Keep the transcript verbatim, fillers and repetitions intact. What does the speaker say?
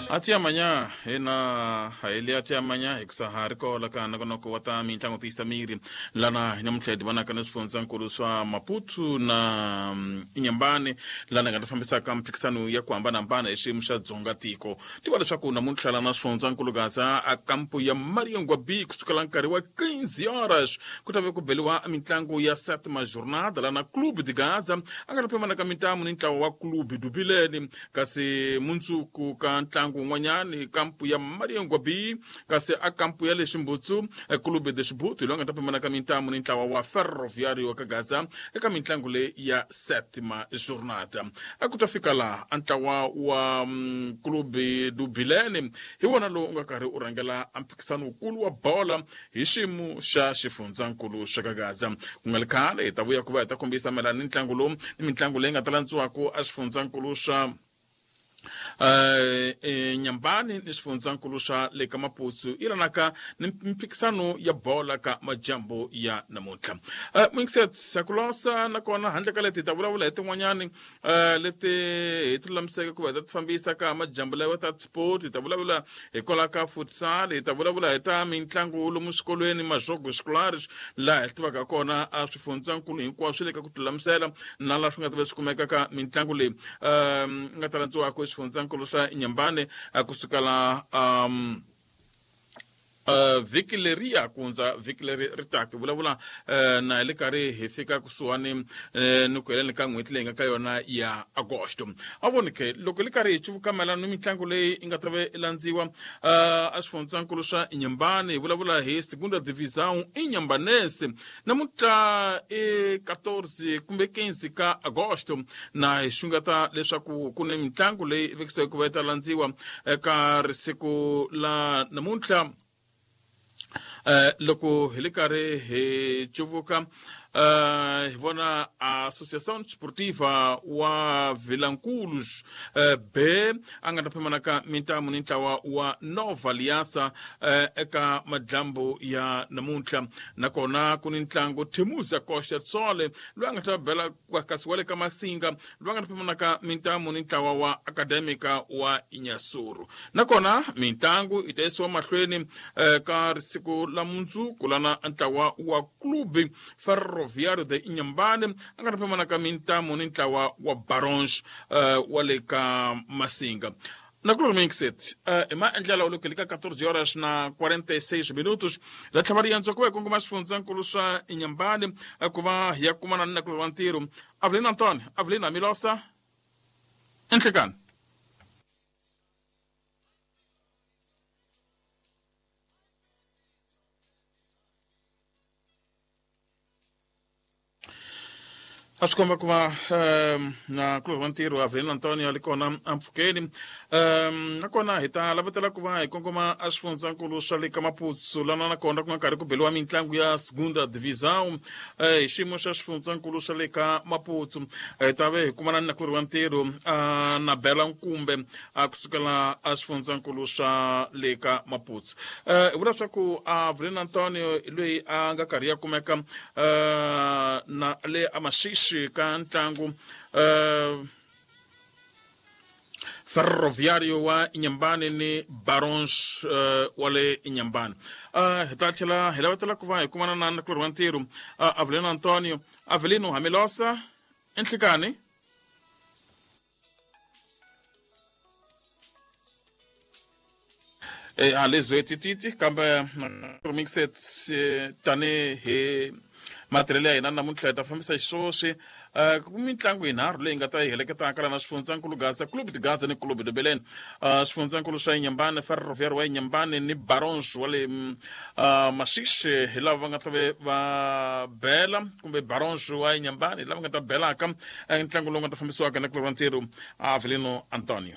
Ati amanhã, ena ele até amanhã, hikusa ri kola ka nongonoko wa ta mitlangu tiyisa miri lana namuntlha hi divanaka na swifundzankulu swa Maputo na Inhambane lana nga ta fambisaka mphikisano ya ku hambanahambana hi xiyimo xa dzonga tiko. Tiva leswaku namuntlha lana swifundzankulu Gaza a kampo ya Mariangwa B kusukela nkarhi wa quinze horas ku ta ve ku beliwa mitlangu ya sétima jornada lana Clube de Gaza a nga ta pimana ka mintamu ni ntlawa wa Clube do Bilene kasi mundzuku ka ntlangu un'wanyani kampu ya Mariangwa B kasi a kampu ya le Ximbutsu Clube de Xibutu loyi nga ta pimana ka mintamu ni ntlawa wa Ferroviário ka Gaza eka mitlangu leyi ya sétima jornada. A ku ta fika laha a ntlawa wa um, Clube do Bilene hi wona lowu u nga karhi u rhangela a mphikisano wukulu wa bola hi xiyimo xa xifundzankulu xa ka Gaza. Ku nga ri khale hi ta vuya ku va hi ta kombisa mayelana ni ntlangu lowu ni mitlangu leyi nga ta landziwaka a xifundzankulu xa Uh, Nyambani ni xifundzankulu xa le ka Maputo yi lanaka ni mphikisano ya bola ka majambu ya namuntlha. Uh, Mwingiset kulosa nakona handle ka leti hi ta vulavula hi tin'wanyani uh, leti hi ti lulamiseke ku va hi ta ti fambisa ka majambu lawa ta sport, hi ta vulavula hi kwala ka futsal, hi ta vulavula hi ta mitlangu lomu swikolweni majogo scolares laha hi tivaka kona a swifundzankulu hinkwaswo swi le ka ku tilulamisela na laha swi nga ta va swi kumeka ka mitlangu leyi um, nga ta landziwaka xifundzankulu xa Inhambane kusukela um Uh, vhiki leriya ku hundza vhiki leri ri taka hi vulavula uh, na hi le karhi hi fika kusuhani uh, ni ku heleni ka n'hweti leyi nga ka yona ya agosto. A voni ke loko hi le karhi hi cuvuka mayelana ni mitlangu leyi yi nga ta va yi landziwa uh, a xifundzankulu xa Inhambane hi vulavula hi Segunda Divisão Inhambanese namuntlha i quatorze kumbe quinze ka agosto na hi xungeta leswaku ku ni mitlangu leyi vekisiweke ku va yi ta landziwa eka risiku la namuntlha. Uh, loko hi le karhi hi cuvuka uh, hi vona Associação Desportiva wa Vilanculos uh, B a nga ta pimana ka mintamu ni ntlawa wa Nova Aliança uh, eka madlambu ya namuntlha. Nakona ku ni ntlangu Temuza Costa Tsole loyi a nga ta bela kasi wa le ka Masinga loyi a nga ta pimana ka mintamu ni ntlawa wa Acadêmica wa Inhasuru. Nakona mitlangu yi ta yisiwa mahlweni uh, ka risiku la mundzuku lana ntlawa wa Clube Ferroviário de Inhambane a nga ta pimana ka mintamu ni ntlawa wa Barons uh, wa le ka Masinga. Nakulumixet uh, hi maendlelo loko hi le ka quatorze horas na quarenta e seis minutos la tlhava riendzo ku va hi kongoma xifundzankulu swa Inhambane ku va hi ya kumana ni nakulorhi wa ntirho Avelina Antonio. Avelina Milosa enhlekani. A swi komba ku va um, na kulorhi wa ntirho Avelina Antonio a li kona ampfhukeni um, nakona hi ta lavetela ku va hi kongoma a xifundzankulu xa le ka Maputo lana nakona ku nga karhi ku beliwa mitlangu ya Segunda Divisão hi uh, xiyimo xa xifundzankulu xa le ka Maputo. Hi ta ve hi kumana ni nakulorhi wa ntirho uh, na Bela Nkumbe uh, kusukela a xifundzankulu xa le ka Maputo. Uh, hi vula leswaku Avelina Antonio loyi a nga karhi ya kumeka uh, na le a Maxixi ka ntlangu uh, Ferroviário wa Inhambane ni Barons uh, wa le Inhambane. Uh, hi ta tlhela hi lavetela ku va hi kumana na nakulorhi wa ntirho uh, Avelino Antonio. Avelino Hamilosa enhlekani. E a lezwe tititi kambe mixet tani hi matirhelo ya hina namuntlha hi ta fambisa xiswoswi uh, ku mitlangu yinharhu leyi nga ta yi heleketaka lana xifundzankulu Gaza, Clube de Gaza ni Clube de Belém. Uh, xifundzankulu xa Inhambane, Ferroviário wa Inhambane ni Barons wa le uh, Maxixi hi lava va nga ta ve va bela kumbe Barons wa Inhambane hi lava nga ta belaka ntlangu lowu nga ta fambisiwaka na kulorhi wa ntirho Avelino Antonio.